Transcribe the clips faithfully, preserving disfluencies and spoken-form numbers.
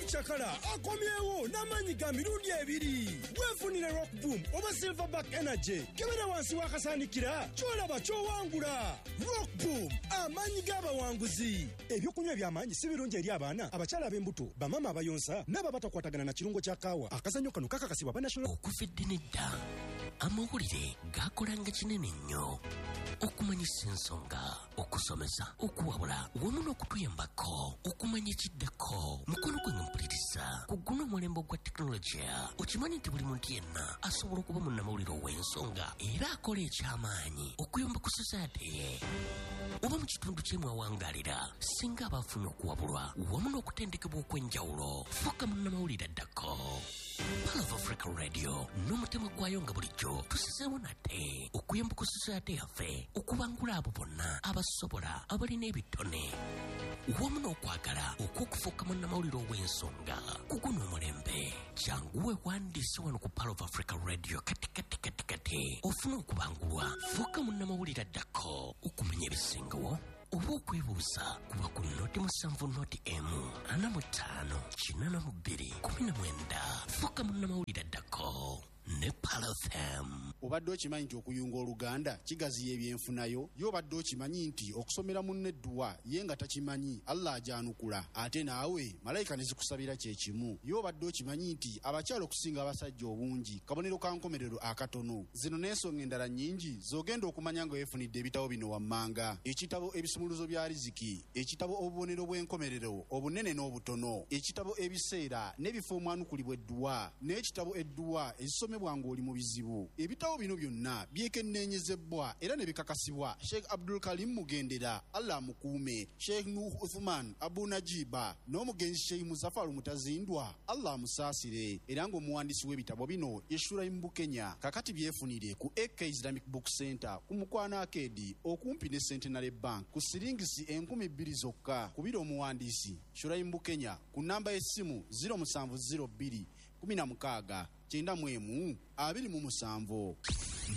Cakala akomyewo n'amaanyi ga mirundi ebiri. Weefunire Rock Boom oba Silverback Energy. Kebera wansi w'akasaanikira ky'olaba ky'owangula. Rock Boom, amaanyi g'abawanguzi. Ebyokunywa eby'amaanyi si birungi eri abaana, abakyala ab'embuto, bamaama abayonsa n'abo abatakwatagana na kirungo kya kaawa. Akazannyo kano kakakasibwa ba National. Okuva edda n'edda amawulire gakolanga kinene nnyo okumanyisa ensonga, okusomesa, okuwabula wamu n'okutuyambako okumanya ekiddako. Mukono gwange mpuliriza, ku guno omulembe ogwa tekinologiya okimanyi nti buli muntu yenna asobola okuba munnamawulire ow'ensonga era akola ekyamaanyi okuyamba ku society ye oba mu kitundu kye mwawangalira, singa aba afunye okuwabulwa wamu n'okutendekebwa okw'enjawulo. Fuuka munnamawulire addako. Pearl of Africa Radio n'omutima gwayo nga bulijjo tusizeewo nate okuyamba ku society yaffe okubangula abo bonna abasobola, abalina ebitone wamu n'okwagala okw'okufuuka munnamawulire ow'ensonga ku guno omulembe. Jangu weewandiise wano ku Pearl of Africa Radio kati kati kati kati ofune okubangulwa. Fuuka munnamawulire addako. Okumanya ebisingawo oba okwebuuza kuba ku noti musanvu noti emu ana mu ttaano kinaana mu bbiri kumi na mwenda. Fuuka munnamawulire addako ne Pearl F M. Obadde okimanyi nti okuyunga oluganda kigaziya ebyenfunayo? Ye obadde okimanyi nti okusomera munno edduwa ye nga takimanyi Allah agyanukula, ate naawe malayika ne zikusabira kye kimu? Ye obadde okimanyi nti abakyala okusinga abasajja obungi kabonero ka nkomerero akatono? Zino n'ensonga endala nnyingi z'ogenda okumanya nga weefunidde ebitabo bino wammanga: ekitabo Ebisumuluzo bya Riziki, ekitabo Obubonero bw'enkomerero obunene n'obutono, ekitabo Ebiseera n'ebifo omwanukulibwa edduwa, n'ekitabo Edduwa ezisomebwa ng'oli mu bizibu. Ebitabo bino byonna byekenneenyezebwa era ne bikakasibwa Sheikh Abdul Karim Mugendera, Allah amukuume, Sheikh Nuh Uthman Abu Najiba n'omugenzi Sheikh Muzafaru Mutazindwa, Allah amusaasire, era ng'omuwandiisi w'ebitabo bino ye Shuraim Bukenya. Kakati byefunire ku A K Islamic Book Center ku Mukwano Arcade okumpi ne Centenary Bank ku siringisi enkumi bbiri zokka. Kubira omuwandiisi Shuraim Bukenya ku namba y'essimu ziro musanvu ziro bbiri kumi na mukaaga kyenda mu emu abiri mu musanvu.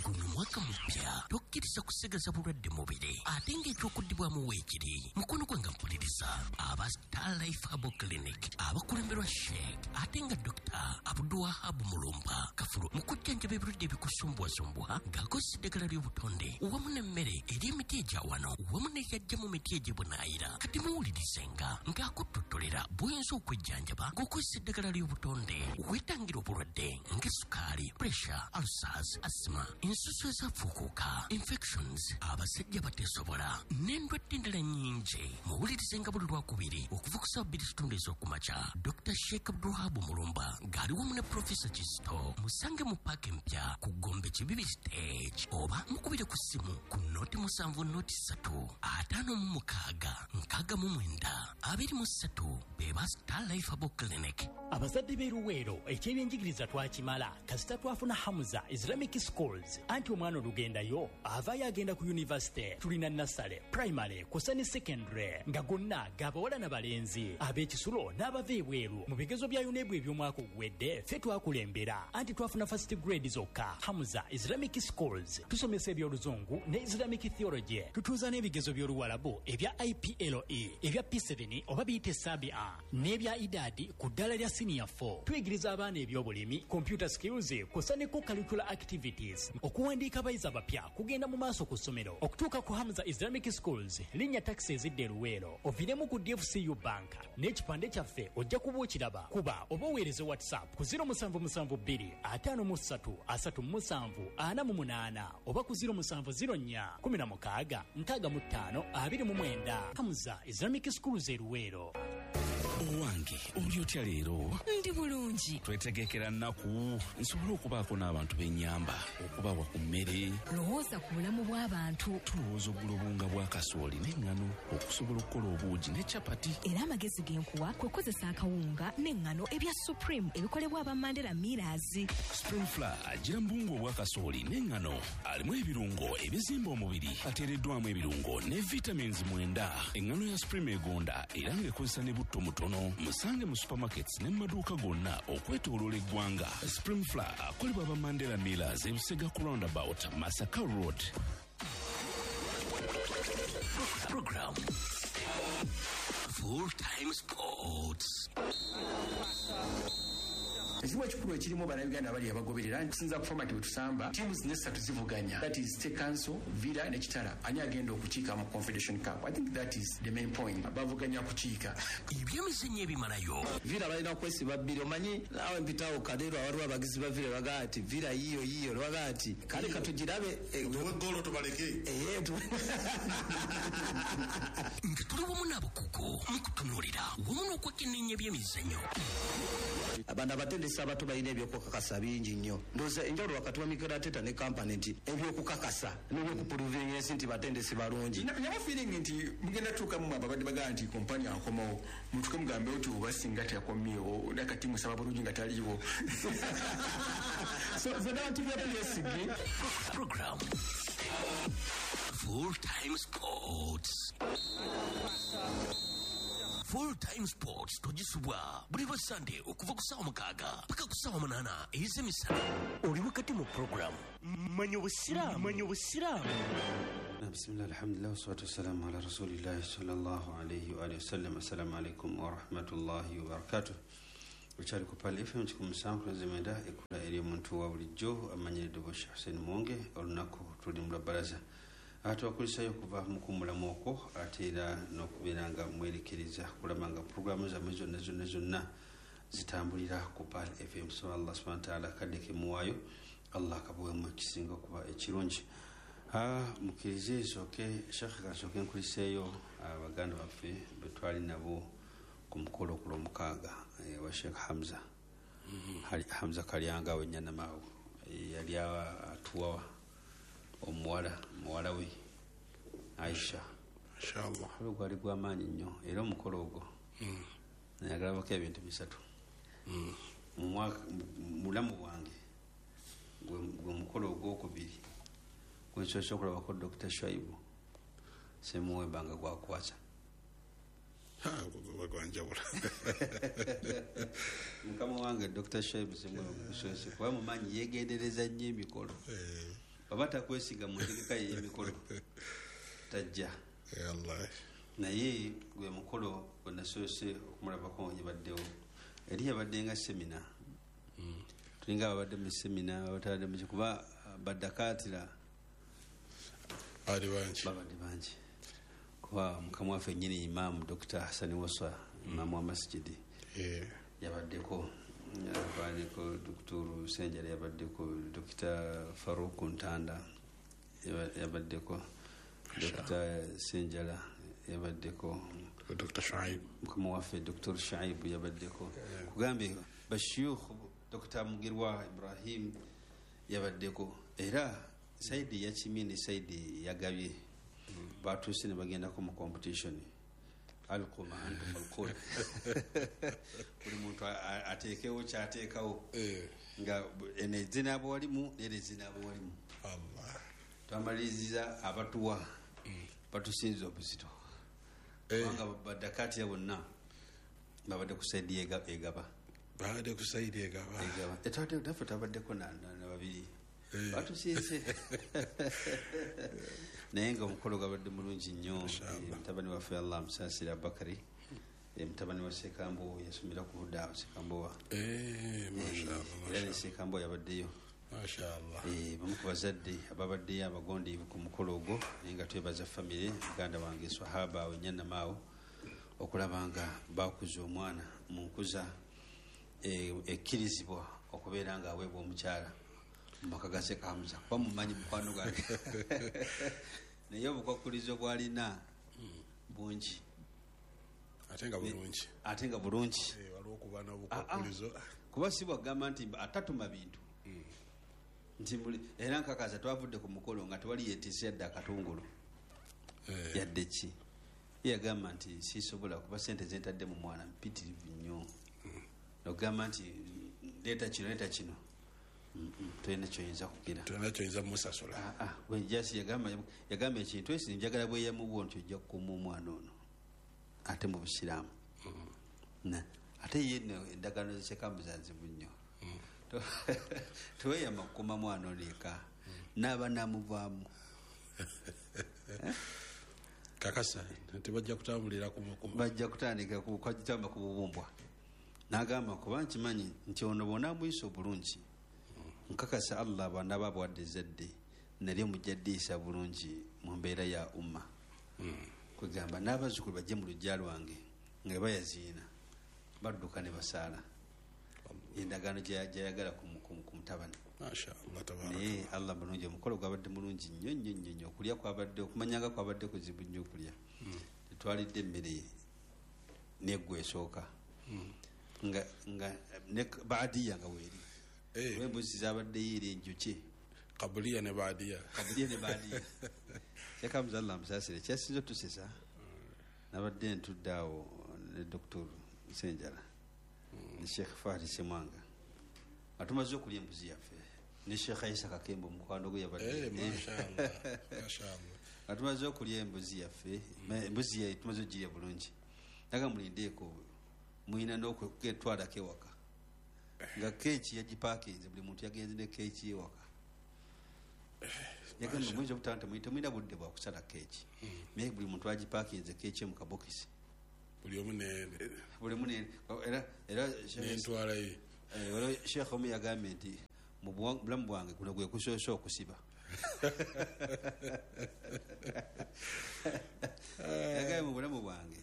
Guno mwaka mupya, tokkiriza kusigaza bulwadde mubiri ate ng'ekyokuddibwamu weekiri. Mukono gwange mpuliriza, aba Star Life Herbal Clinic abakulemberwa Sheikh ate nga Dokita Abdulwahab Mulumba Kafulu mu kujjanjaba ebirwadde ebikusumbuwasumbuwa ng'akozesa eddagala ly'obutonde wamu n'emmere eri emiti egya wano wamu n'eyajja mu miti egy'ebunaayira. Kati muwulirizenga ng'akuttotolera bw'oyinza okwejjanjaba ng'okozesa eddagala ly'obutonde weetangira obulwadde ng'esukaali, pressure, ulcers, asthma, ensusu ezafuukuuka, infections, abasajja bateesobola n'endwadde endala nnyingi. Muwulirizenga buli lwakubiri okuva ku ssaawa bbiri kitundu ez'okumakya Dokita Sheikh Abdulwahab Mulumba ng'ali wamu ne Profesa Kisto. Musange mu paaka empya ku Gombe Kibibi Stage oba mukubire ku ssimu ku noti musanvu noti ssatu ataano mu mukaaga nkaaga mu mwenda abiri mu ssatu. Be ba Star Life Herbal Clinic. Abazadde b'e Luweero, ekyebyenjigiriza twakimala kasita twafuna Hamza Islamic Schools. Anti omwana olugendayo avaayo agenda ku university. Tulina nursery, primary kw'ossa ne secondary nga gonna g'abawala n'abalenzi, ab'ekisulo n'abava ebweru. Mu bigezo bya UNEB eby'omwaka oguwedde ffe twakulembera, anti twafuna first grade zokka. Hamza Islamic Schools tusomesa eby'oluzungu ne Islamic theology, tutuuza n'ebigezo by'oluwalabu ebya I P L E, ebya P seven oba biyite Sabia n'ebya Idadi ku ddala lya senior four. Tuyigiriza abaana eby'obulimi, computer skills kw'ossa ne co-curricular activities. Okuwandiika abayizi abapya kugenda mu maaso ku ssomero. Okutuuka ku Hamza Islamic Schools, linnya takisi ezidda e Luweero oviiremu ku D F C U Bank n'ekipande kyaffe ojja kuba okiraba. Kuba oba oweereze WhatsApp ku ziro musanvu musanvu bbiri ataano mu ssatu asatu mu musanvu ana mu munaana oba ku ziro musanvu ziro nnya kumi na mukaaga nkaaga mu ttaano abiri mu mwenda. Hamza Islamic Schools e Luweero. Owange, oli otya leero? Ndi bulungi. Twetegekera nnaku nsobole okubaako n'abantu b'ennyamba, okubawa ku mmere. Lowooza ku bulamu bw'abantu. Tulowooza okugula obuwunga bwa kasooli n'eŋŋano okusobola okukola obuugi ne capati. Era amagezi ge nkuwa kwe kukozesa akawunga n'eŋŋano ebya Supreme ebikolebwa aba Mandela Millers. Supreme Flour agira mu buwunga obwa kasooli n'eŋŋano, alimu ebirungo ebizimba omubiri, ateereddwamu ebirungo ne vitamins mwenda. Eŋŋano ya Supreme egonda era ng'ekozesa ne butto mutono. Musange mu supermarkets ne mu maduuka gonna okwetooloola eggwanga. Supreme Flour akolebwa aba Mandela Millers e Busega ku roundabout Masaka Road. Program Full Time Sports. Ekizibu ekikulu ekirimu bannayuganda abali abagoberera nkusinza ku format bwe tusamba teams nesatu zivuganya, that is State Council, Villa ne Kitara, ani agenda okukiika mu Confederation Cup? I think that is the main point, bavuganya kukiika. Ebyemizannyo ebimalayo Villa balina kwesiba bbiri, omanyi naawe mpitawo Kaleero awaliwo abagizi ba Villa bagaa nti Villa yiyo yiyo bagaa nti kale katugirabe tuwe golo tubaleke nga tuli wamu n'abakugu mu kutunuulira wamu n'okwekenneenya ebyemizannyo. Abana abatendesi abato balina ebyokukakasa bingi nnyo. Ndowooza enjawulo wakati wa Mikel Arteta ne Kompany nti ebyokukakasa n'ebyokupuruvinga ensi nti batendesi balungi. Naba feeling nti mugenda tuuka mu ababadde bagaa nti Kompany akomawo, mutuke mugambe nti oba singa teyakomyewo nakati musaba bulungi nga taliiwo. So the narrative ya P S G program Full Time Sports. Full Time Sports togisubwa buli lwa Sunday okuva ku ssaawa mukaaga paka ku ssaawa munaana ez'emisana. Oli wakati mu program Manya Obusiraamu. Manya Obusiraamu. Bismillah, alhamdulillah, wassalatu wassalamu ala rasulillahi sallallahu alayhi wa alihi wasallam. Assalamu alaikum wa rahmatullahi wa barakatuh. Okyali ku Pearl F M kikumi musanvu mwenda ekula eri omuntu wa bulijjo amanyiridde Sheikh Hussein Mwonge. Olunaku tuli mu lwabalaza atubakulisayo okuva mu kuwummulamu okwo ate era n'okubeera nga mwerekereza kulaba nga puroguramu zammwe zonna zonna zonna zitambulira ku Pearl F M. So Allah subhanahu wa ta'ala akadde kemuwaayo Allah akabuwemu ekisinga okuba ekirungi. Mukkirize nsooke Sheikh kansooke nkuliseeyo abaganda baffe be twali nabo ku mukolo ku lwomukaaga wa Sheikh Hamza Hamza Kalyanga w'Ennyanamaawo yali atuwa omuwala muwala we Aisha. Inshallah. Olwo gwali gw'amaanyi nnyo era omukolo ogwo nayagalabako ebintu bisatu mu bulamu bwange. Gwe mukolo ogwokubiri gwensoose okulabako Dokita Shaibu Ssemuwemba nga gwakwasa. Gwanjawula. Mukama wange Dokita Shaibu Ssemuwemba gusoose kuba mumanyi yeegendereza nnyo emikolo. Baba takwesiga mu ntegeka ye y'emikolo tajja. Naye gwe mukolo gwe nasoose okumulabako yabaddewo eri yabadde nga semina. Tulinga ababadde mu semina abatabadde mu kuba baddakaatira bali bangi babadde bangi kuba mukama waffe nnyini Imaamu Dokita Hassan Waswa imaamu wa masjidi yabaddeko, yabaddeko Dokitoro Senjala yabaddeko, Dokita Farouk Ntanda yabaddeko, Dokita Senjala yabaddeko, Dokita Shaib mukama waffe Dokita Shaib yabaddeko. Kugambe bashiyukh Dokita Mugirwa Ibrahim yabaddeko. Era saidi yakimye ne saidi yagabye batuuse ne bagendako mu competition alquma antum alqul buli muntu ateekewo kyateekawo nga eno ezinaaba walimu nera ezinaaba walimu. Twamaliriza abatuwa batusinza obuzito kubanga badakatira bonna babadde ku saidi egaba babadde ku saidi egaba egaba naffe twabaddeko na babiri batusinze. Naye nga omukolo gwabadde mulungi nnyo. Mutabani waffe Allah amusaasire Abubakari, mutabani wa Ssekambo yasomera ku Huda Ssekambowa era ne Ssekambo yabaddeyo. Bamu ku bazadde ababaddeyo abagondiivu ku mukolo ogwo. Naye nga twebaza famire muganda wange Swahaba Wenyanamaawo okulaba nga bakuza omwana mu nkuza ekkirizibwa okubeera nga aweebwa omukyala mumaka ga Sheikh Hamza kuba mumanyi mukwano gwange. Naye obukwakulizo bwalina bungi ate nga bulungi ate nga bulungi waliwo okuba n'obukwakulizo kuba si bwagamba nti atatuma bintu nti era nkakaza twavudde ku mukolo nga tewali yeetisse yadde akatungulu yadde ki. Yagamba nti sisobola kuba sente zentadde mu mwana mpitirivu nnyo nogamba nti leeta kino leeta kino tolina kyoyinza kugira tolina kyoyinza musasula. Jasi yagamba yagamba ekintu esi njagala bweyamu bwo nti ojja kukuuma omwana ono ate mu busiraamu. Ate ye nno endagaano z'Ssekambuza nzibu nnyo. Teweyama kukuuma mwana ono eka n'aba n'amuvaamu. Kakasa tebajja kutambulira ku bajja kutandika kutamba ku bubumbwa. N'agamba kuba nkimanyi nti ono bw'onaamuyisa obulungi nkakasa Allah bw'anaaba abawadde ezzadde nalyo mujja ddiisa bulungi mu mbeera ya umma. Kwegamba n'abazzukulu bajje mu luggya lwange nga bayaziina badduka ne basaala endagaano gy'ayagala ku mutabani. Naye Allah mulungi, omukolo gwabadde mulungi nnyo nnyo nnyo nnyo. Okulya kwabadde, okumanyanga kwabadde kuzibu nnyo okulya. Tetwalidde emmere neggwa esooka nga nga ne baadiya nga weeri embuzi zabaddeyo era enjuki kabuliya ne baadiya kabuliya ne baadiya. Kyakamuza Allah musaasire, kyasinze otusesa nabadde ntudde awo ne Doctor Nsenjala ne Sheikh Fahdi Semwanga nga tumaze okulya embuzi yaffe ne Sheikh Isa Kakembo mukwano gwe yabadde. Nga tumaze okulya embuzi yaffe, embuzi ye tumaze ogirya bulungi, naga mulindeeko muyina n'okutwalako ewaka nga keeki yagipaakinze, buli muntu yagenze ne keeki ewaka. Yagamba muyinza obutaba nti temulina budde bwa kusala keeki, naye buli muntu agipaakinze keeki mu kabokisi, buli omu buli omu era era n'entwala ye. Sheikh omu yagambye nti mu bulamu bwange guno gwe kusoose okusiba. Yagambye mu bulamu bwange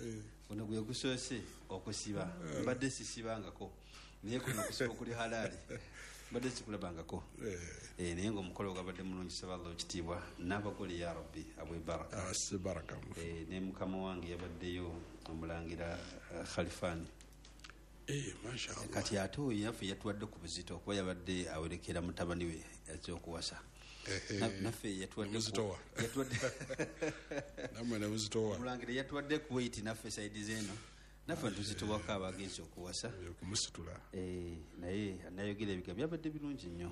guno gwe kusoose okusiba, mbadde sisibangako naye kuno okusiba okuli halaali mbadde sikulabangako. Naye ng'omukolo gwabadde mulungi, saba Allah ekitiibwa n'abagole ya Rabbi abwe baraka. Ne mukama wange yabaddeyo omulangira Khalifani. Kati ate oyo yaffe yatuwadde ku buzito kuba yabadde awerekera mutabani we azze okuwasa. Naffe yatuwadde omulangira yatuwadde ku weight naffe saidi z'eno naffe ntuzitowako abagenzi okuwasa okumusitula. Naye nayogera ebigambo byabadde birungi nnyo,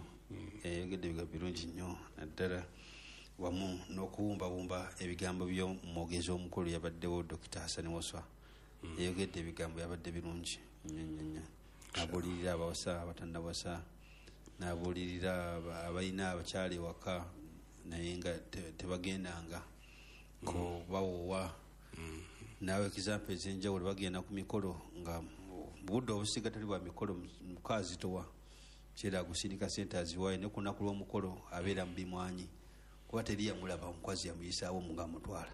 yayogedde ebigambo birungi nnyo naddala wamu n'okuwumbawumba ebigambo by'omwogezi omukulu yabaddewo Dokita Hassan Waswa. Yayogedde ebigambo byabadde birungi nnyo nnyo nnyo. Abuulirira abawasa abatannawasa, n'abuulirira abalina abakyala ewaka naye nga tebagendanga ko bawoowa. Naawe example ez'enjawulo bagenda ku mikolo nga budde obusiga tali bwa mikolo mukazitowa kyera agusindika sente aziwaayo, ne ku lunaku lw'omukolo abeera mu bimwanyi kuba teri yamulaba omukazi yamuyisaawo nga amutwala.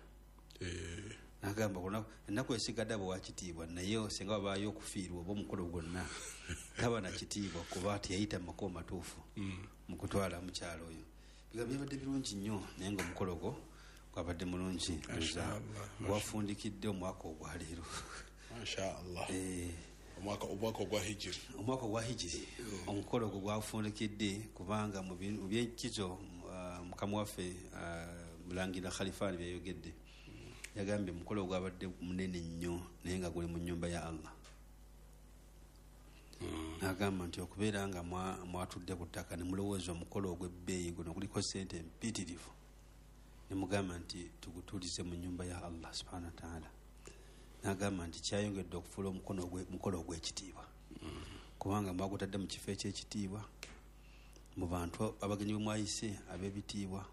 Nagamba ennaku esigadde abo wakitiibwa, naye singa wabaayo okufiirwa oba omukolo gwonna taba na kitiibwa kuba teyayita mu makubo matuufu mu kutwala mukyalo oyo. Bigambo byabadde birungi nnyo naye ng'omukolo gwo gwabadde mulungi, gwafundikidde omwaka ogwaleero. Mashallah. Omwaka ogwa hijiri, omwaka ogwa hijiri omukolo ogwo gwafundikidde kubanga mu byenkizo mukama waffe mulangira Khalifani byayogedde yagambye omukolo ogwabadde munene nnyo naye nga guli mu nnyumba ya Allah. Nagamba nti okubeera nga mwatudde ku ttaka ne mulowooza omukolo ogw'ebbeeyi guno guliko ssente empitirivu, ne mugamba nti tugutuulize mu nnyumba ya Allah subhanahu wa ta'ala. Nagamba nti kyayongedde okufuula omukolo ogw'ekitiibwa kubanga mwagutadde mu kifo eky'ekitiibwa, mu bantu abagenyi bwe mwayise ab'ebitiibwa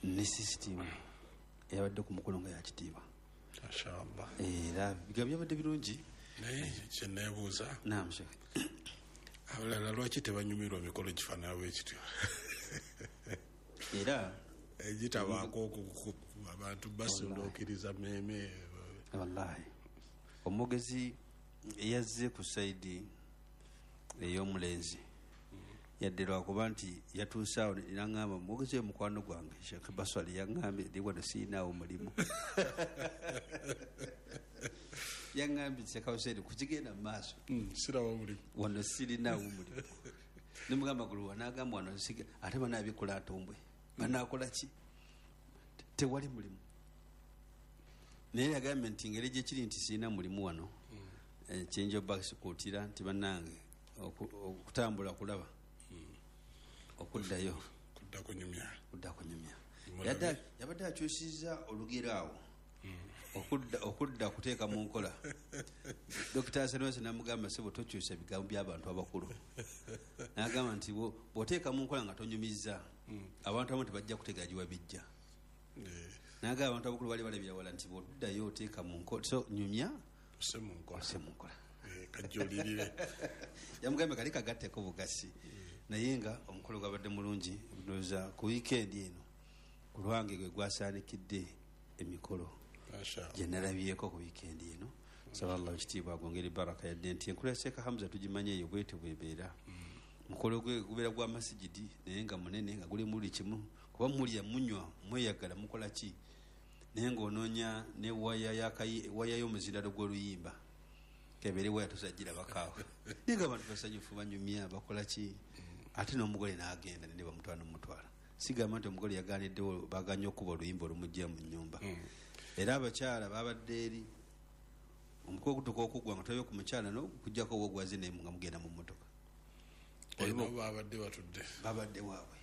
ne sisitimu eyabadde ku mukolo nga yakitiibwa. Mashallah. Era bigambo byabadde birungi. Naye kyeneebuuza, naam Sheikh, abalala lwaki tebanyumirwa mikolo gifaanana bwe kityo? Era egitabaako abantu basunduukiriza mmeeme. Wallahi omwogezi eyazze ku saidi ey'omulenzi yadde lwakuba nti yatuuse awo naŋŋamba mwogezi oyo mukwano gwange Sheikh Baswali yaŋŋambye ndi wano siinaawo mulimu. Yaŋŋambye Sheikh Hussein kukigenda mu maaso sirawo mulimu wano sirinaawo mulimu. Nemugamba guluwa n'agamba wano ate banaabikola atombwe banaakola ki, tewali mulimu. Naye yagambye nti ngeri gyekiri nti sirina mulimu wano kyenja obasikuutira nti bannange okutambula kulaba okuddayo kudda kunyumya kudda kunyumya. Yabadde akyusizza olugero awo okudda okudda kuteeka mu nkola. Dokita Hassan namugamba sebo tokyusa ebigambo by'abantu abakulu. N'agamba nti bw'oteeka mu nkola nga tonyumizza abantu abamu tebajja kutegeera gye wabijja. N'agamba abantu abakulu bali balabira wala nti bw'oddayo oteeka mu nkola, so nyumya ose mu nkola. Ose mu nkola. Kajjolirire. Yamugambye kali kagatteko bugasi. Naye nga omukolo gwabadde mulungi, ndowooza ku wiikendi eno ku lwange gwe gwasaanikidde emikolo gye nalabyeko ku wiikendi eno. Nsaba Allah ekitiibwa agongere baraka, yadde nti enkula ya Sheikh Hamza tugimanyi eyo bwetyo bwebeera. Mukolo gwe gubeera gwa masigidi naye nga munene, nga gulimu buli kimu, kuba mulya, munywa, mweyagala, mukola ki, naye ng'onoonya ne waya y'akayi, waya y'omuzindalo gw'oluyimba kebeere waya tosagirabakaawe, naye nga abantu basanyufu, banyumya, bakola ki, ate n'omugole n'agenda ne bamutwala n'omutwala. Sigamba nti omugole yagaaniddewo, baganye okuba oluyimba olumugya mu nnyumba. Era abakyala babadde eri omukolo gutuuka okuggwa nga tolabye ku mukyala n'okuggyako ogwo gwaze naye nga mugenda mu mmotoka. Nabo babadde batudde, babadde waabwe.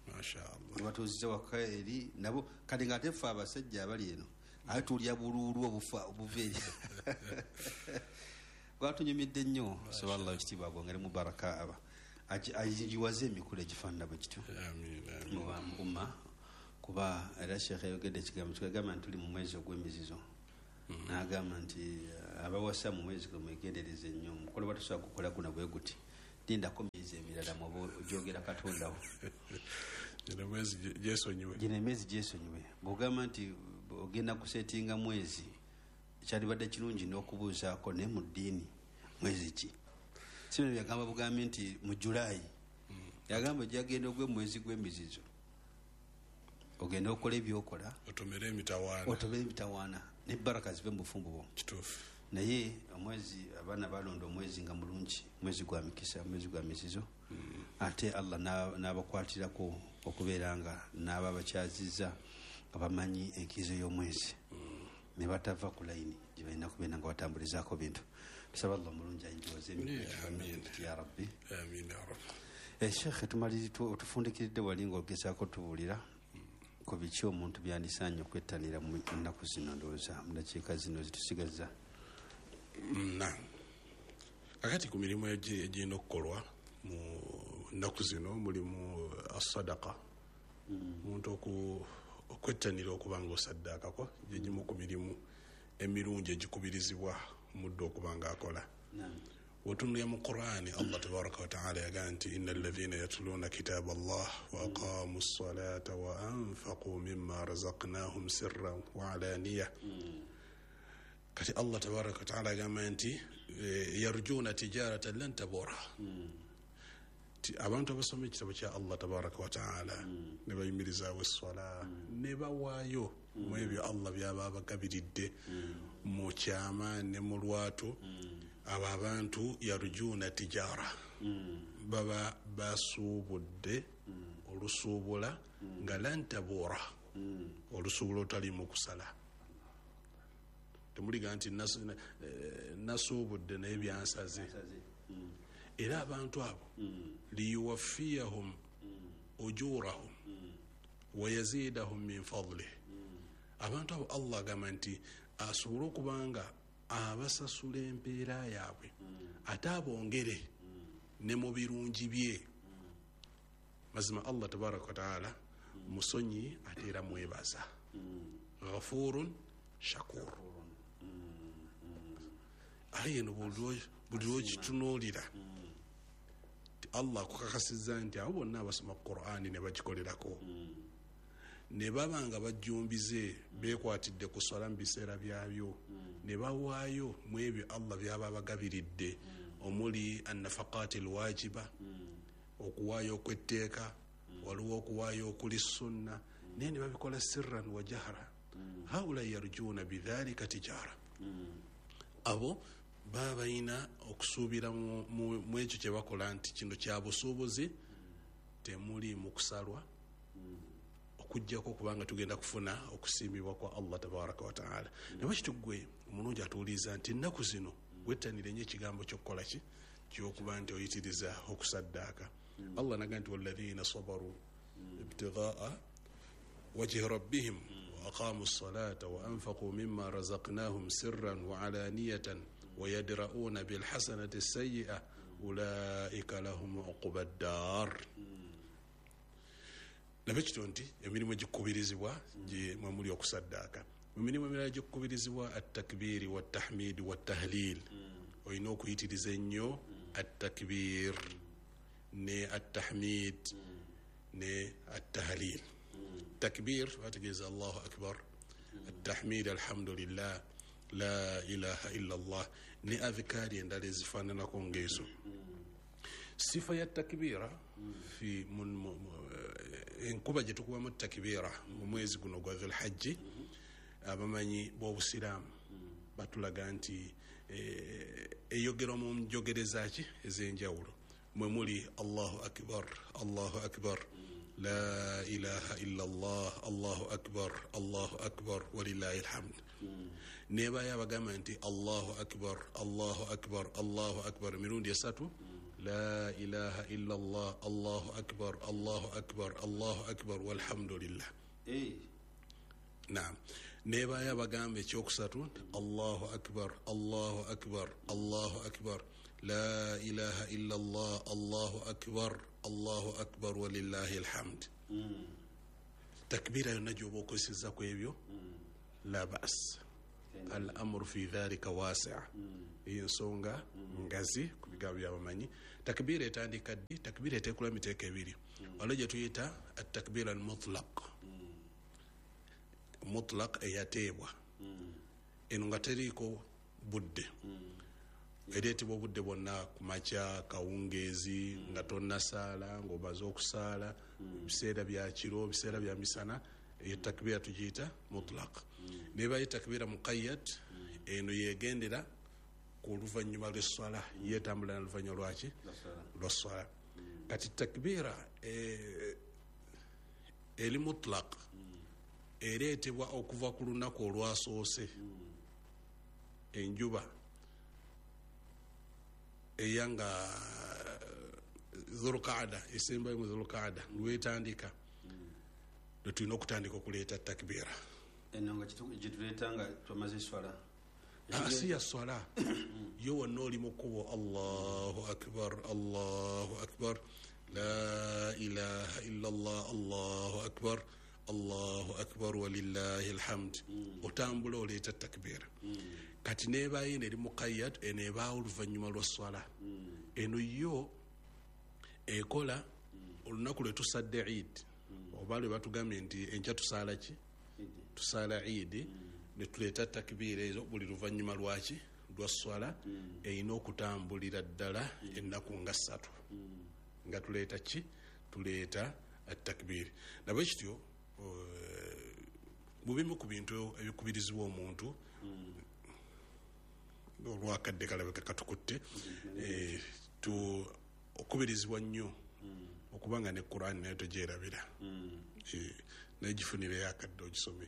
Mashaallah. Batuuziza waka eri nabo. Kati ng'ate ffe abasajja abali eno ate tulya buluulu obufa obuva eri. Gwatunyumidde nnyo. Saba Allah ekitiibwa agongere mu baraka, aba agiwaze emikolo egifaanana bwe gityo mu umma, kuba era Sheikh yayogedde ekigambo kigamba nti tuli mu mwezi ogw'emizizo, n'agamba nti abawasa mu mwezi gwe mwegendereze nnyo, omukolo batusobola gukola guno bwe guti, lindako myezi emirala mwoba ogyogera Katondawo. Gino emyezi gyesonyiwe, gino emyezi gyesonyiwe. Bw'ogamba nti ogenda kusetinga mwezi, kyalibadde kirungi n'okubuuzaako naye mu ddiini mwezi ki? Si bino byagamba bugambi nti mu Julayi, yagamba ojjagenda ogwe mwezi gw'emizizo, ogenda okola ebyokola, otomere emitawaana, otomere emitawaana ne baraka zive mu bufumbo bwo. Kituufu. Naye omwezi abaana balonda omwezi nga mulungi, mwezi gwa mikisa, mwezi gwa mizizo, ate Allah n'abakwatirako okubeera nga n'aba bakyazizza nga bamanyi enkizo y'omwezi, ne batava ku layini gye balina kubeera nga batambulizaako bintu. Tusaba Allah omulungi ayingiwaze emikisa ya Rabbi. Amiina ya Rabbi. Eh, Sheikh, tumaliri otufundikiridde wali ng'ogezaako tubuulira ku biki omuntu byandisaanye okwettanira mu nnaku zino, ndowooza mu dakiika zino zitusigazza. Na kakati ku mirimu egirina okukolwa mu nnaku zino mulimu asadaka, omuntu okwettanira okuba nga osaddaakako, gyegimu ku mirimu emirungi egikubirizibwa omuddu okuba nga akola. Wotunulira mu Qur'ani, Allah tabaraka wa taala yagamba nti inna alladhina yatluna kitaba Allah wa aqamu ssalata wa anfaqu mimma razaqnahum sirran wa alaniya. Kati Allah tabaraka wa taala agamba nti yarjuna tijaratan lan tabura. Abantu abasoma ekitabo kya Allah tabaraka wa taala ne bayimirizaawo esswala ne bawaayo mu ebyo Allah byaba abagabiridde mu kyama ne mu lwatu, abo abantu yarjuna tijara, baba basuubudde olusuubula nga lan tabura, olusuubula olutaliimu kusala. Temuliga nti nasuubudde naye byansaze. Era abantu abo liyuwaffiyahum ujurahum wa yazidahum min fadlih. Abantu abo Allah agamba nti asobole okubanga abasasula empeera yaabwe ate abongere ne mu birungi bye. Mazima Allah tabaraka wa taala musonyi ate era mwebaza, ghafurun shakur. Aye eno buli lwokitunuulira Allah akukakasizza nti abo bonna abasoma Qur'ani ne bagikolerako ne baba nga bajjumbize beekwatidde ku swala mu biseera byabyo ne bawaayo mu ebyo Allah by'aba abagabiridde, omuli annafaqaati alwajiba, okuwaayo okw'etteeka, waliwo okuwaayo okuli sunna, naye ne babikola sirran wa jahra. Haula yarjuuna bidhalika tijara. Abo baba balina okusuubira mu ekyo kye bakola nti kino kya busuubuzi, temuli mu kusalwa, okuggyako kubanga tugenda kufuna okusiimibwa kwa Allah tabaraka wa taala. Naye bakityo ggwe omulungi atuwuliriza nti ennaku zino wettanire nnyo ekigambo ky'okukola ki ky'okuba nti oyitiriza okusaddaaka. Allah naga nti walladhina sabaru ibtighaa wajhi rabbihim wa aqamu ssalata wa anfaqu mimma razaqnahum sirran wa alaniyatan wa yadra'una bilhasanati sayyi'a ulaika lahum uqba ddar. Nabe kityo nti emirimu egikubirizibwa gye mwe muli okusaddaaka. Mu mirimu emirala egikubirizibwa attakbiiri wattahmiidi wattahlil, Olina okuyitiriza ennyo attakbir ne attahmid ne attahlil. Takbir bategeeza Allahu akbar, attahmid alhamdulillah, la ilaha illa Allah, ne adhikari endala ezifaananako ng'ezo. Sifa ya takbira fi enkuba gye tukubamu takbira mu mwezi guno gwa Dhulhajji, abamanyi b'obusiraamu batulaga nti eyogerwa mu njogereza ki ez'enjawulo, mwe muli Allahu akbar, Allahu akbar, la ilaha illa Allah, Allahu akbar, Allahu akbar, walillahi alhamd. Nebayo abagamba nti Allahu akbar, Allahu akbar, Allahu akbar emirundi esatu, la ilaha illa Allah, Allahu akbar, Allahu akbar, Allahu akbar, walhamdulillah. Naam. Nebayo abagamba ekyokusatu nti Allahu akbar, Allahu akbar, Allahu akbar, la ilaha illa Allah, Allahu akbar, Allahu akbar, walillahi alhamd. Takbira yonna gy'oba okozesezza ku ebyo la bas, al amru fi dhalika wasi'. Eyo ensonga ngazi ku bigambo by'abamanyi. Takbira etandika ddi? Takbira eteekula miteeko ebiri. Waliwo gye tuyita attakbira al mutlaq, mutlaq eyateebwa, eno nga teriiko budde, ereetebwa obudde bwonna, ku makya, kawungeezi, nga tonnasaala, ng'omaze okusaala, biseera bya kiro, biseera bya misana. Eyo takbira tugiyita mutlaq. Nebayo takbira muqayyad, eno yegendera ku luvannyuma lw'esswala, yeetambula na luvannyuma lwaki? Lwa sswala. Kati takbira eri mutlaq ereetebwa okuva ku lunaku olwasoose enjuba eyanga Dhulqaada, esembayo mu Dhulqaada lwetandika, lwe tulina okutandika okuleeta takbira. Eno nga gyetuleeta nga twamaze eswala? Si ya swala yo, wonna oli mu kkubo, Allahu akbar, Allahu akbar, la ilaha illa Allah, Allahu akbar, Allahu akbar, walillahi alhamd. Otambula oleeta takbira. Kati neebaayo eno eri muqayyad, eno ebaawo oluvannyuma lwa swala. Eno yo ekola olunaku lwe tusadde Eid, oba lwe batugambye nti enkya tusaala ki? Tusaala Eid, ne tuleeta takbira ezo buli luvannyuma lwaki? Lwa swala. Erina okutambulira ddala ennaku nga ssatu nga tuleeta ki? Tuleeta attakbiri. Nabwe kityo mu bimu ku bintu ebikubirizibwa omuntu olwakadde kalabika katukutte, okubirizibwa nnyo okubanga ne Qur'an nayo togyerabira, naye gifunireyo akadde ogisome,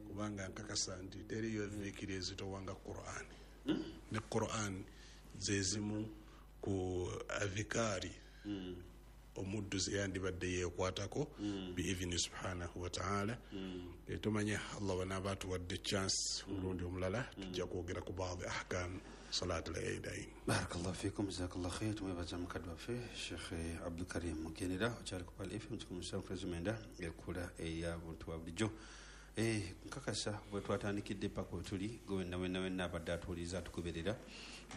kubanga nkakasa nti teriyo dhikiri ezitowanga Qur'an. Ne Qur'an ze zimu ku adhikari omuddu ze yandibadde yeekwatako biidhini subhanahu wa ta'ala. Tumanye Allah bw'anaaba atuwadde chance omulundi omulala tujja kwogera ku baadhi ahkam salat al-eidain. Barakallahu fikum, jazakallahu khair. Tumwebaza mukadde waffe Sheikh Abdulkarim Mugenera, okyali ku Pearl F M kikumi musanvu mwenda, ekula eya buntu bwa bulijjo. Nkakasa bwe twatandikidde paka we tuli, gwe wenna wenna wenna abadde atuwuliriza atugoberera,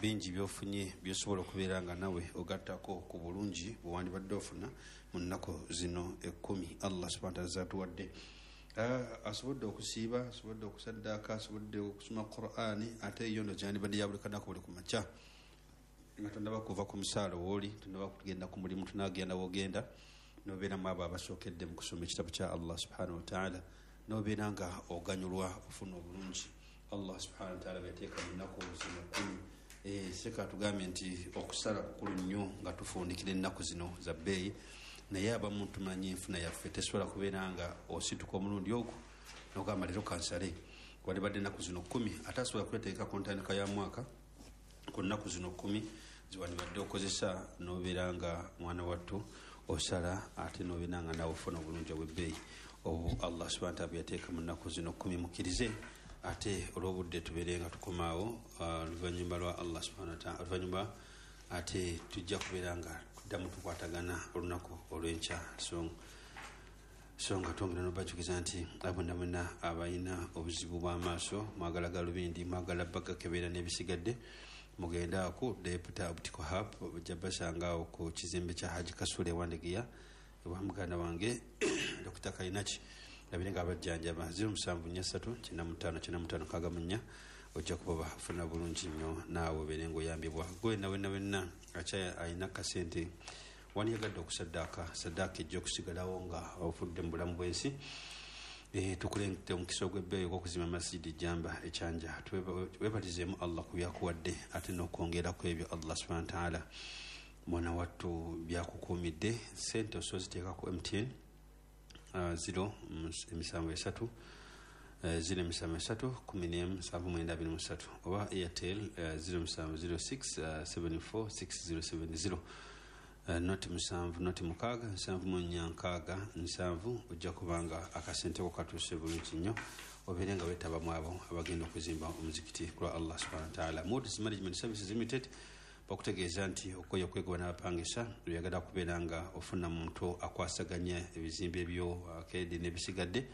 bingi by'ofunye by'osobola okubeera nga nawe ogattako ku bulungi bwe wandibadde ofuna mu nnaku zino ekkumi Allah subhanahu wa ta'ala z'atuwadde. Asobodde okusiiba, asobodde okusaddaaka, asobodde okusoma Qur'ani, ate yo ndo gyandibadde ya buli kanaku buli ku makya, nga tonnaba kuva ku musaala wooli, tonnaba kugenda ku mulimu, tunagenda w'ogenda, n'obeeramu abo abasookedde mu kusoma ekitabo kya Allah subhanahu wa ta'ala, n'obeera nga oganyulwa ofuna obulungi Allah subhanahu wa ta'ala byateeka mu nnaku zino kkumi. Seka tugambye nti okusala kukulu nnyo nga tufundikira ennaku zino za bbeeyi, naye abamu tumanyi enfuna yaffe tesobola kubeera nga osituka omulundi ogwo n'ogamba leero kansale, walibadde ennaku zino kkumi, ate asobola kweteeka ku ntandika ya mwaka ku nnaku zino kkumi ziwandibadde okozesa n'obeera nga mwana wattu osala, ate n'obeera nga nawe ofuna obulungi obw'ebbeeyi obu Allah subhanahu wa ta'ala byateeka mu nnaku zino kkumi. Mukkirize ate olw'obudde tubeere nga tukomaawo oluvannyuma lwa Allah subhanahu wa ta'ala, oluvannyuma ate tujja kubeera nga tuddamu tukwatagana olunaku olw'enkya. So so nga twongera n'obajjukiza nti abonna bonna abalina obuzibu bw'amaaso, mwagala galubindi, mwagala bagakebera n'ebisigadde, Mugenda ku Deputy Optical Hub ojja basanga awo ku kizimbe kya Haji Kasule Wandegeya ewa muganda wange Dokita Kainaki labire nga abajjanjaba zero musanvu nnya ssatu kyenda mu ttaano kyenda mu ttaano nkaaga mu nnya. Ojja kuba bafuna bulungi nnyo naawe obeere ng'oyambibwa. Gwe na wenna wenna akyaya alina kasente wandiyagadde okusaddaaka, saddaaka ejja okusigalawo nga ofudde mu bulamu bw'ensi. Eh, tukulengedde omukisa ogw'ebbeeyi ogw'okuzimba masijidi Jamba ekyanja. Webalizeemu Allah ku byakuwadde ate n'okwongera ku ebyo Allah subhanahu wa ta'ala mwana wattu byakukuumidde. Ssente osobola ziteeka ku M T N uh, zero emisanvu esatu uh, zero emisanvu esatu kumi n'emu nsanvu mwenda abiri mu ssatu oba Airtel uh, zero musanvu zero six uh, seven four six zero seven zero Uh, noti musanvu noti mukaaga nsanvu mu nnya nkaaga nsanvu. Ojja kubanga akasente ko katuuse bulungi nnyo obeere nga weetaba mu abo abagenda okuzimba omuzikiti ku lwa Allah subhanahu wa ta'ala. Moods Management Services Limited bakutegeeza nti okoye okwegoba n'abapangisa, oyagala kubeera nga ofuna muntu akwasaganya ebizimbe byo akeedi n'ebisigadde,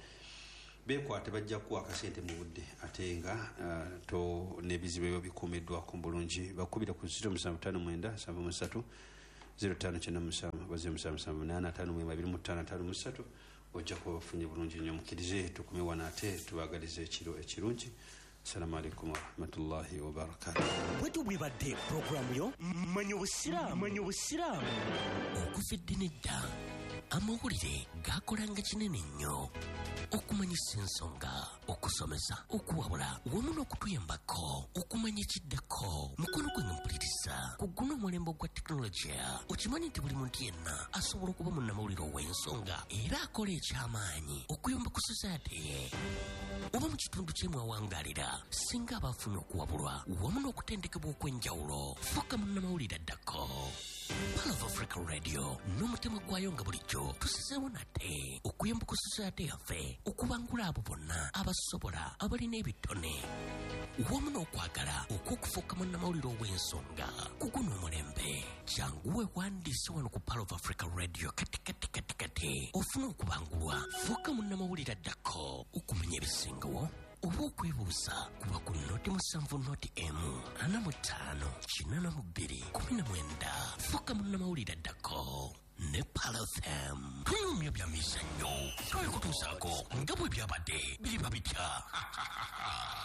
beekwate bajja kuwa akasente mu budde ate nga uh, to n'ebizibu ebyo bikuumiddwako bulungi. Bakubira ku zero musanvu ttaano mwenda nsanvu mu ssatu zero ttaano kyenda musanvu oba zero musanvu musanvu munaana ataano mu abiri mu ttaano ataano mu ssatu. Ojja kuba bafunye bulungi nnyo. Mukkirize tukume wano ate tubaagalize ekiro ekirungi. Assalamu alaikum warahmatullahi wabarakatuh. Bwetu bwebadde puroguramu yo Manya Obusiraamu. Manya Obusiraamu. Okuva edda n'edda amawulire gakolanga kinene nnyo okumanyisa ensonga, okusomesa, okuwabula wamu n'okutuyambako okumanya ekiddako. Mukono gwange mpuliriza ku guno omulembe ogwa tekinologiya, okimanyi nti buli muntu yenna asobola okuba munnamawulire ow'ensonga era akola ekyamaanyi okuyamba ku society ye oba mu kitundu kye mwawangalira. Singa abafunye okuwabulwa wamu n'okutendekebwa okw'enjawulo, fuuka munnamawulire addako. Pearl of Africa Radio n'omutima gwayo nga bulijjo tusizeewo nate okuyamba ku society yaffe okubangula abo bonna abasobola abalina ebitone wamu n'okwagala okw'okufuuka munnamawulire ow'ensonga ku guno omulembe. Jangu weewandiise wano ku Pearl of Africa Radio kati kati kati kati ofune okubangulwa, fuuka munnamawulire addako okumanya ebisingawo oba okwebuuza kuba ku noti musanvu noti emu ana mu ttaano kinaana mu bbiri kumi na mwenda. Fuuka munnamawulire addako ne Pearl F M. Tunyumya bya mizannyo twabikutuusaako nga bwe byabadde biriba bitya.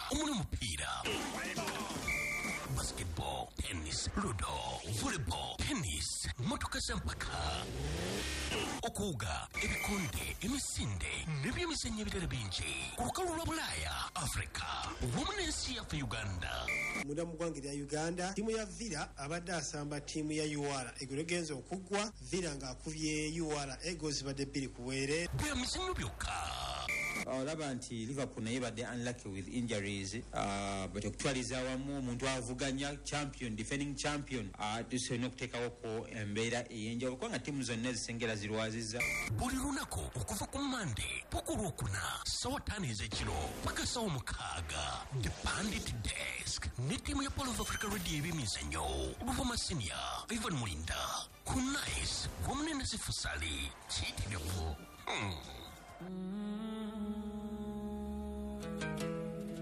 Omuli omupiira, basketball, tennis, ludo, volleyball, tennis, motoka z'empaka, okuwuga, ebikonde, emisinde n'ebyemizannyo ebirala bingi ku lukalu lwa Bulaaya, Afrika wamu n'ensi yaffe Uganda. Munda mu ggwanga erya Uganda, ttiimu ya Villa abadde asamba ttiimu ya U R egolo egenza okuggwa, Villa ng'akubye U R ego zibadde bbiri ku bwereere. Bya mizannyo byokka. Olaba nti Liverpool naye badde unlucky with injuries, uh, but okutwaliza awamu omuntu avuganya champion, defending champion, uh, tusolina okuteekawoko embeera ey'enjawulo kubanga ttiimu zonna ezisengera zirwazizza. Buli lunaku okuva ku Mmande paka Olwokuna ssaawa ttaano ez'ekiro paka ssaawa mukaaga, The Pandit Desk ne ttiimu ya Pearl of Africa Radio ebyemizannyo, Luvuma Senior, Ivan Mulinda, Kunais wamu ne Nasifu Sali. Kiyitirivu. Hmm.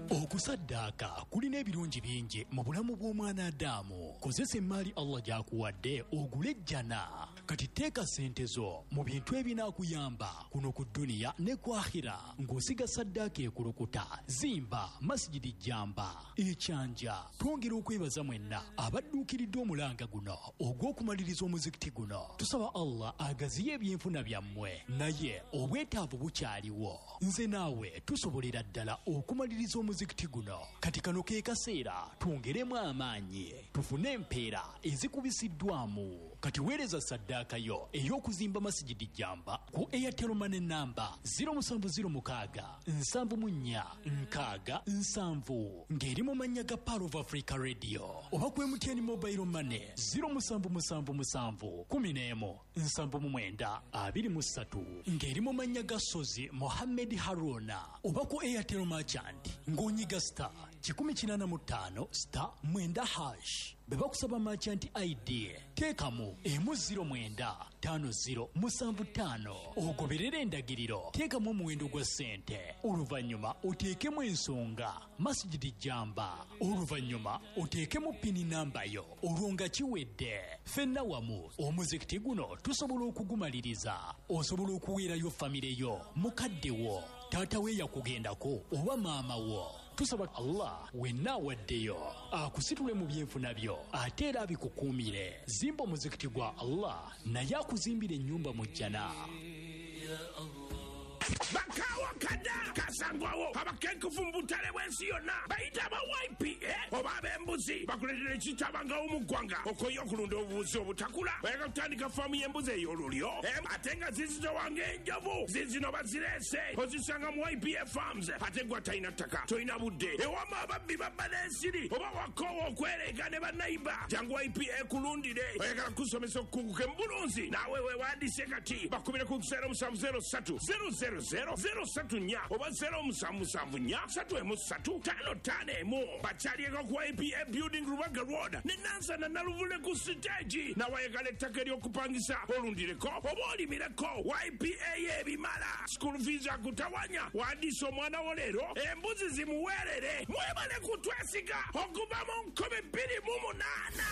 Okusaddaaka kulina ebirungi bingi mu bulamu bw'omwana Adamu. Kozesa emmaali Allah gy'akuwadde ogule ejjana. Kati teeka ssente zo mu bintu ebinaakuyamba kuno ku dduniya ne ku akhira, ng'osiga saddaaka ekulukuta, zimba masijidi Jamba ekyanja. Twongera okwebaza mwenna abadduukiridde omulanga guno ogw'okumaliriza omuzikiti guno. Tusaba Allah agaziye ebyenfuna byammwe, naye obwetaavu bukyaliwo. Nze naawe tusobolera ddala okumaliriza omuzikiti guno. Kati kano ke kaseera twongeremu amaanyi tufune empeera ezikubisiddwamu. Kati weereza saddaaka yo ey'okuzimba masijidi Jamba ku Airtel Money namba zero musanvu zero mukaaga nsanvu mu nnya nkaaga nsanvu ng'eri mu mannya ga Pearl of Africa Radio oba ku M T N Mobile Money zero musanvu musanvu musanvu kumi n'emu nsanvu mu mwenda abiri mu ssatu ng'eri mu mannya ga Sozi Mohammed Haruna oba ku Airtel Merchant ng'onyiga star kikumi kinaana mu ttaano star mwenda hash. Bwe bakusaba merchant I D teekamu emu zero mwenda ttaano zero musanvu ttaano, ogoberere endagiriro, teekamu omuwendo gwa ssente, oluvannyuma oteekemu ensonga Masjid Jamba, oluvannyuma oteekemu pini namba yo, olwo nga kiwedde. Ffenna wamu omuzikiti guno tusobola okugumaliriza. Osobola okuweerayo famire yo, mukadde wo, taata we yakugendako oba maama wo. Tusaba Allah wenna awaddeyo akusitule mu byenfuna byo ate era abikukuumire. Zimba omuzikiti gwa Allah naye akuzimbire ennyumba mu jjana. Bakawa kada kasangwawo abakenkufu mu butale bw'ensi yonna bayita aba Y P A oba ab'embuzi bakuleetera ekitabangawo mu ggwanga okoye okulunda obubuzi obutakula. Oyagala kutandika faamu y'embuzi ey'olulyo ate nga zizitowa ng'enjovu, zizino bazireese ozisanga mu Y P A Farms. Ate gwe atalina ttaka, tolina budde, ewama ababbi babba n'ensiri oba wakoowa okwereega ne bannayiba, jangu Y P A ekulundire. Oyagala kusomesa okukuguka mu bulunzi, naawe weewandise kati bakubire ku zero musanvu zero ssatu zero zero zero zero ssatu nnya oba zero musanvu musanvu nnya ssatu emu ssatu ttaano ttaano emu. Bakyalieko ku Y P A Building Rubaga Road ne Nansana Naluvule ku siteegi. Nawe ayagala ettaka ery'okupangisa olundireko oba olimireko, Y P A y'ebimala. School fees akutawanya, wandiisa omwana wo leero, embuzi zimuweerere. Mwebale kutwesiga okuva mu nkumi bbiri mu munaana.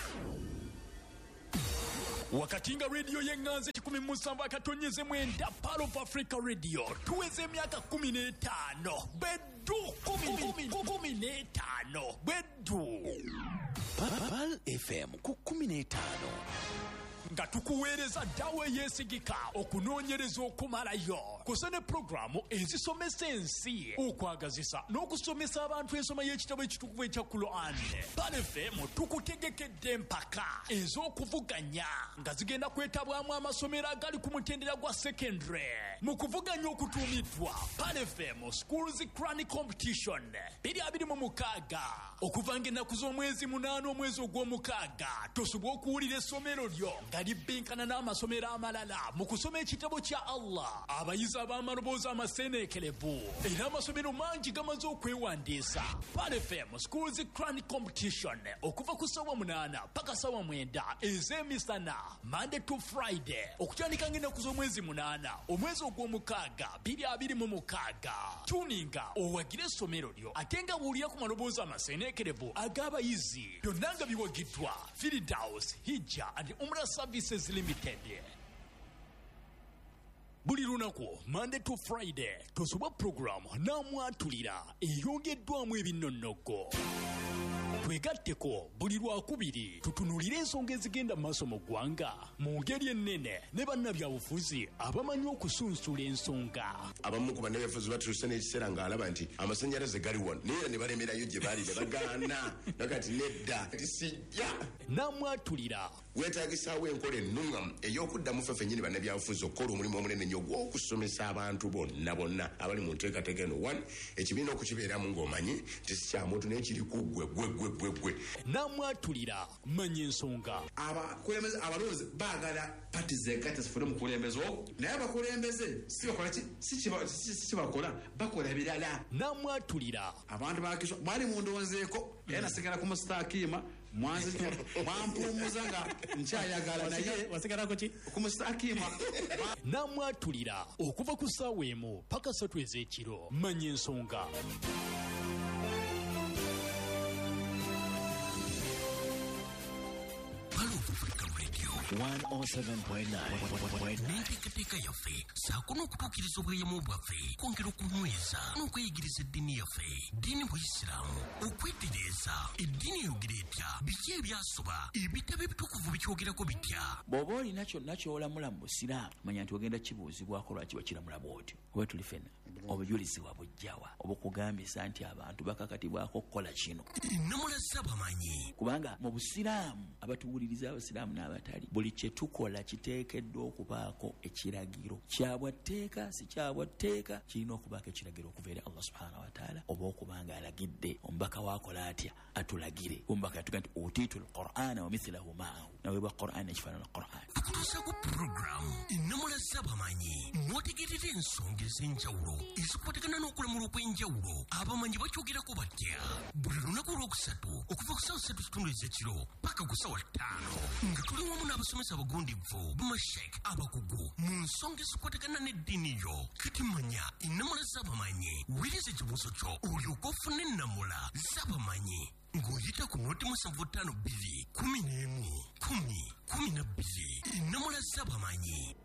Wakati nga radio y'eŋŋanzi kikumi mu musanvu akatonyeze mwenda Pearl of Africa Radio tuweze emyaka kumi n'etaano beddu kumi kumi n'etaano beddu Pearl F M ku kumi n'etaano nga tukuweereza ddawa eyeesigika okunoonyereza okumalayo kusa ne pulogulaamu ezisomesa ensi, okwagazisa n'okusomesa abantu ensoma y'ekitabo ekitukuvu ekya Quran. Pearl F M tukutegekedde empaka ez'okuvuganya nga zigenda kwetabwamu amasomero agali ku mutendera gwa secondary mu kuvuganya okutuumiddwa Pearl F M Schools Quran Competition bbiri abiri mu mukaaga okuva ng'ennaku z'omwezi munaana omwezi ogw'omukaaga. Tosobola okuwulira essomero lyo nga libbinkana n'amasomero amalala mu kusoma ekitabo kya Allah. Abayizi ab'amaloboozi amaseeneekerevu era amasomero mangi gamaze okwewandiisa. Pearl F M Schools Quran Competition okuva ku ssaawa munaana paka ssaawa mwenda ez'emisana Monday to Friday okutandika ng'ennaku z'omwezi munaana omwezi ogw'omukaaga bbiri abiri mu mukaaga. Tuninga owagire essomero lyo ate nga buulira ku maloboozi amaseeneekerevu ag'abayizi. Byonna nga biwagiddwa Firdaus Hijja and Umrah Services Limited. Buli lunaku Monday to Friday tosubwa pulogulaamu n'amwatulira eyongeddwamu ebinnonnogo. Twegatteko buli lwakubiri tutunuulire ensonga ezigenda mu maaso mu ggwanga mu ngeri ennene ne bannabyabufuzi abamanyi okusunsula ensonga. Abamu ku bannabyabufuzi batuuse n'ekiseera ng'alaba nti amasannyalaze gali wano naye era ne balemerayo gye baali ne bagaana nakati nedda nti sijja. N'amwatulira weetaagisaawo enkola ennungamu ey'okuddamu ffe ffennyini bannabyabufuzi okukola omulimu omunene nnyo ogw'okusomesa abantu bonna bonna abali mu nteekateeka eno. One, ekibiina okukibeeramu ng'omanyi nti si kya muntu naye kiri ku ggwe ggwe ggwe ggwe ggwe. N'amwatulira manya ensonga. Abakulembeze abalonzi baagala pati zegatte zifune omukulembeze ogwo, naye abakulembeze si bakola ki? Si kibakola, bakola birala. N'amwatulira abantu bakiswa mwali mundonzeeko era nasigala ku musitakiima mwampuumuza nga nkyayagala naye wasigalako ki ku musitakiima. N'amwatulira okuva ku ssaawa emu paka ssatu ez'ekiro. Manya ensonga. one oh seven point nine N'enteekateeka yaffe ssaako n'okutuukiriza obweyamo bwaffe kwongera okunyweza n'okweyigiriza eddiini yaffe, ddiini buyisiraamu, okwetereeza eddiini eyogera etya, biki ebyasoba, ebitabo ebitukuvu bikyogerako bitya. Bw'oba olina kyonna ky'olamula mu busiraamu manya nti ogenda kibuuzibwako lwaki wakiramula bw'otyo. Oba tuli ffenna obujulizi wabujjawa obukugambisa nti abantu bakakatibwako okukola kino. Ennamula z'abamanyi kubanga mu busiraamu abatuwuliriza abasiraamu n'abatali buli Buli kye tukola kiteekeddwa okubaako ekiragiro kyabwa tteeka, si kyabwa tteeka, kirina okubaako ekiragiro okuva eri Allah subhanahu wa ta'ala, oba okuba nga alagidde omubaka waakola atya atulagire. Omubaka yatuga nti utiitu lqur'ana wa mithlahu ma'ahu, naweebwa Qur'an ekifaanana Qur'an. Tukutuusaako puroguramu ennamula z'abamanyi mwotegerera ensonga ez'enjawulo ezikwatagana n'okulamula okw'enjawulo. Abamanyi bakyogerako batya buli lunaku olwokusatu okuva ku ssaawa ssatu kitundu ez'ekiro paka ku ssaawa ttaano, nga tuli wamu n'abasomesa abagundivu bamashek abakugu mu nsonga ezikwatagana n'eddiini yo. Kati manya ennamula z'abamanyi, wuliriza ekibuuzo kyo olyoke ofune ennamula z'abamanyi ng'oyita ku noti musanvu ttaano bbiri kumi n'emu kumi kumi na bbiri. Ennamula z'abamanyi.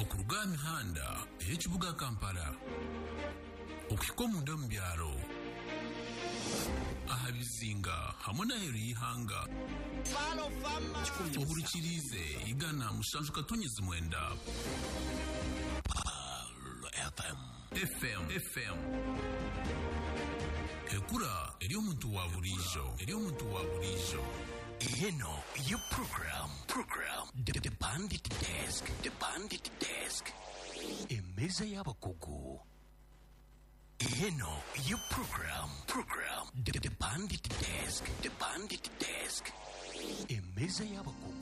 Okuruga aha mihanda ey'ekibuga Kampala okuhika omunda omu byaro, aha bizinga hamwe n'aheeru y'ihanga, ohurikiriize igana mushanju katonyezi mwenda F M. F M F M, ekura eri omuntu wa burijo, eri omuntu wa burijo. Eno ye program program the, the Bandit Desk, the Bandit Desk, emmeeza y'abakugu. Eno ye program program the, the Bandit Desk, the Bandit Desk, emmeeza y'abakugu.